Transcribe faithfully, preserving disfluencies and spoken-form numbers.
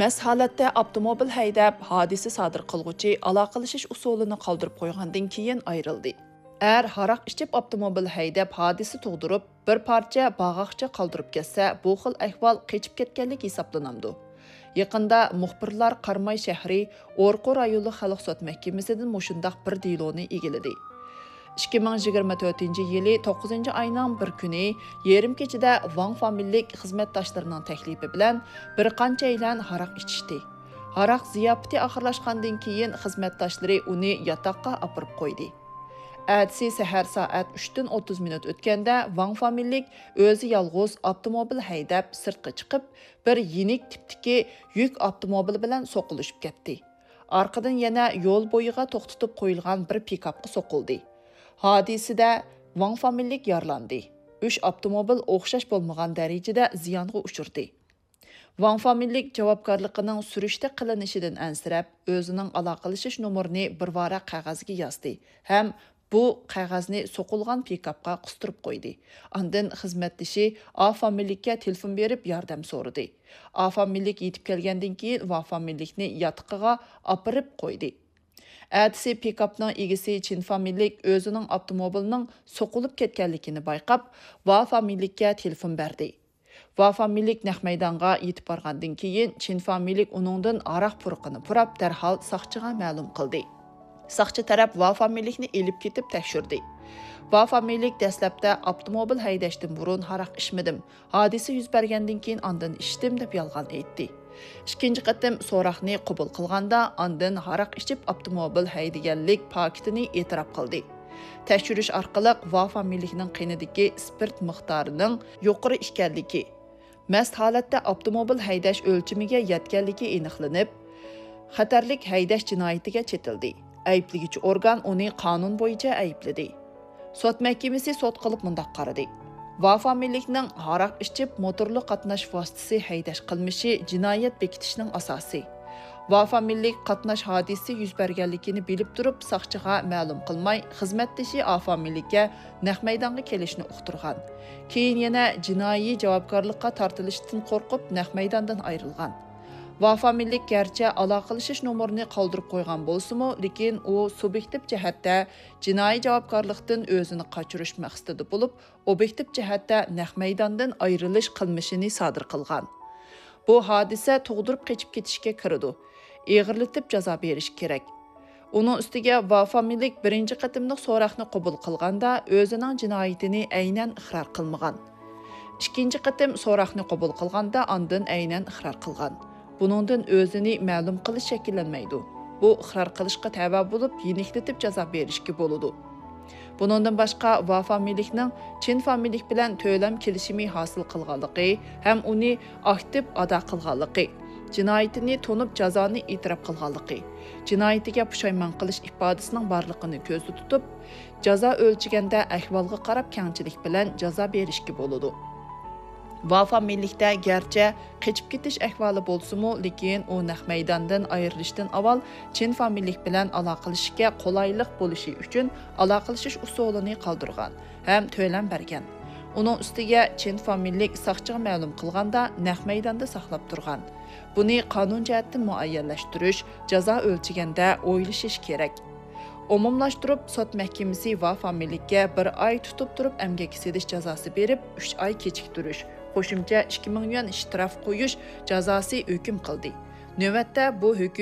مەست ھالەتتە ئاپتوموبىل ھەيدەپ، ھادىسە سادىر قىلغۇچى ئالاقىلىشىش ئۇسۇلىنى قالدۇرۇپ قويغاندىن كېيىن ئايرىلدى. ئەر ھاراق ئىچىپ ئاپتوموبىل ھەيدەپ، ھادىسە تۇغدۇرۇپ، بىر پارچە باغاقچە قالدۇرۇپ كەتسە، بۇ خىل ئەھۋال قېچىپ كەتكەنلىك ھېسابلىنامدۇ؟ يېقىندا مۇخبىرلار قاراماي شەھىرى ئورقۇ رايونلۇق خەلق سوت مەھكىمىسىدىن مۇشۇنداق بىر دېلونى ئىگىلىدى. ئىككى مىڭ يىگىرمە تۆتىنچى يىلى توققۇزىنچى ئاينىڭ بىر كۈنى يېرىم كېچىدە ۋاڭ فامىلىلىك خىزمەتداشلىرىنىڭ تەكلىپى بىلەن بىر قانچەيلەن ھاراق ئىچىشتى. ھاراق زىياپىتى ئاخىرلاشقاندىن كېيىن خىزمەتداشلىرى ئۇنى ياتاققا ئاپىرىپ قويدى. ئەتىسى سەھەر سائەت ئۈچتىن ئوتتۇز مىنۇت ئۆتكەندە ۋاڭ فامىلىلىك ئۆزى يالغۇز ئاپتوموبىل ھەيدەپ سىرتقا چىقىپ، بىر يېنىك تىپتىكى يۈك ئاپتوموبىلى بىلەن سوقۇلۇشۇپ كەتتى. ئارقىدىن يەنە يول بويىغا توختىتىپ قويۇلغان بىر پىكاپقا سوقۇلدى. ھادىسىدە ۋاڭ فامىلىلىك يارىلاندى. ئۈچ ئاپتوموبىل ئوخشاش بولمىغان دەرىجىدە زىيانغا ئۇچرىدى. ۋاڭ فامىلىلىك جاۋابكارلىقىنىڭ سۈرۈشتە قىلىنىشىدىن ئەنسىرەپ، ئۆزىنىڭ ئالاقىلىشىش نومۇرىنى بىر ۋاراق قەغەزگە يازدى ھەم بۇ قەغەزنى سوقۇلغان پىكاپقا قىستۇرۇپ قويدى. ئاندىن خىزمەتدىشى ئا فامىلىلىككە تېلېفون بېرىپ ياردەم سورىدى. ئا فامىلىلىك يېتىپ كەلگەندىن كېيىن ۋا فامىلىلىكنى ياتىقىغا ئاپىرىپ قويدى. ئەتىسى پىكاپنىڭ ئىگىسى چىن فامىلىلىك ئۆزىنىڭ ئاپتوموبىلىنىڭ سوقۇلۇپ كەتكەنلىكىنى بايقاپ، ۋا فامىلىلىككە تېلېفون بەردى. ۋا فامىلىلىك نەق مەيدانغا يېتىپ بارغاندىن كېيىن، چىن فامىلىلىك ئۇنىڭدىن ھاراق پۇرىقىنى پۇراپ، دەرھال ساقچىغا مەلۇم قىلدى. ساقچى تەرەپ ۋا فامىلىلىكنى ئېلىپ كېتىپ تەكشۈردى. ۋا فامىلىلىك دەسلەپتە ئاپتوموبىل ھەيدەشتىن بۇرۇن ھاراق ئىچمىدىم، ھادىسە يۈز بەرگەندىن كېيىن ئاندىن ئىچتىم، دەپ يالغان ئېيتتى. ئىككىنچى قېتىم سوراقنى قوبۇل قىلغاندا، ئاندىن ھاراق ئىچىپ ئاپتوموبىل ھەيدىگەنلىك پاكىتىنى ئېتىراپ قىلدى. تەكشۈرۈش ئارقىلىق ۋا فامىلىلىكنىڭ قېنىدىكى سپىرت مىقدارىنىڭ يۇقىرى ئىكەنلىكى، مەست ھالەتتە ئاپتوموبىل ھەيدەش ئۆلچىمىگە يەتكەنلىكى ئېنىقلىنىپ، خەتەرلىك ھەيدەش جىنايىتىگە چېتىلدى. ئەيىبلىگۈچى ئورگان ئۇنى قانۇن بويىچە ئەيىبلىدى. سوت مەھكىمىسى سوت قىلىپ مۇنداق قارىدى: ۋا فامىلىلىكنىڭ ھاراق ئىچىپ موتورلۇق قاتناش ۋاسىتىسى ھەيدەش قىلمىشى جىنايەت بېكىتىشنىڭ ئاساسى. ۋا فامىلىلىك قاتناش ھادىسىسى يۈز بەرگەنلىكىنى بىلىپ تۇرۇپ، ساقچىغا مەلۇم قىلماي، خىزمەتدىشى ئا فامىلىلىككە نەق مەيدانغا كېلىشنى ئۇقتۇرغان. كېيىن يەنە جىنايى جاۋابكارلىققا تارتىلىشتىن قورقۇپ، نەق مەيداندىن ئايرىلغان. ۋا فامىلىلىك گەرچە ئالاقىلىشىش نومۇرىنى قالدۇرۇپ قويغان بولسىمۇ، لېكىن ئۇ سۇبيېكتىپ جەھەتتە جىنايى جاۋابكارلىقتىن ئۆزىنى قاچۇرۇش مەقسىتىدە بولۇپ، ئوبيېكتىپ جەھەتتە نەق مەيداندىن ئايرىلىش قىلمىشىنى سادىر قىلغان. بۇ ھادىسە تۇغدۇرۇپ قېچىپ كېتىشكە كىرىدۇ. ئېغىرلىتىپ جازا بېرىش كېرەك. ئۇنىڭ ئۈستىگە ۋا فامىلىلىك بىرىنچى قېتىملىق سوراقنى قوبۇل قىلغاندا ئۆزىنىڭ جىنايىتىنى ئەينەن ئىقرار قىلمىغان. ئىككىنچى قېتىم سوراقنى قوبۇل قىلغاندا ئاندىن ئەينەن ئىقرار قىلغان. بۇنىڭدىن ئۆزىنى مەلۇم قىلىش شەكىللەنمەيدۇ. بۇ ئىقرار قىلىشقا تەۋە بولۇپ، يېنىكلىتىپ جازا بېرىشكە بولىدۇ. بۇنىڭدىن باشقا، ۋا فامىلىلىكنىڭ چىن فامىلىلىك بىلەن تۆلەم كېلىشىمى ھاسىل قىلغانلىقى ھەم ئۇنى ئاكتىپ ئادا قىلغانلىقى، جىنايىتىنى تونۇپ جازانى ئېتىراپ قىلغانلىقى، جىنايىتىگە پۇشايمان قىلىش ئىپادىسىنىڭ بارلىقىنى كۆزدە تۇتۇپ، جازا ئۆلچىگەندە ئەھۋالغا قاراپ كەڭچىلىك بىلەن جازا بېرىشكە بولىدۇ. ۋا فامىلىلىكتە گەرچە قېچىپ كېتىش ئەھۋالى بولسىمۇ، لېكىن ئۇ نەق مەيداندىن ئايرىلىشتىن ئاۋۋال چىن فامىلىلىك بىلەن ئالاقىلىشىشكە قولايلىق بولۇشى ئۈچۈن ئالاقىلىشىش ئۇسۇلىنى قالدۇرغان ھەم تۆلەم بەرگەن. ئۇنىڭ ئۈستىگە چىن فامىلىلىك ساقچىغا مەلۇم قىلغاندا نەق مەيداندا ساقلاپ تۇرغان. بۇنى قانۇن جەھەتتىن مۇئەييەنلەشتۈرۈش، جازا ئۆلچىگەندە ئويلىشىش كېرەك. ئومۇملاشتۇرۇپ، سوت مەھكىمىسى ۋا فامىلىلىككە بىر ئاي تۇتۇپ تۇرۇپ ئەمگەككە سېلىش جازاسى بېرىپ، ئۈچ ئاي كېچىكتۈرۈش، قوشۇمچە ئىككى مىڭ يۈەن شتراف قويۇش جازاسى ھۆكۈم قىلدى. نۆۋەتتە بۇ ھۆكۈم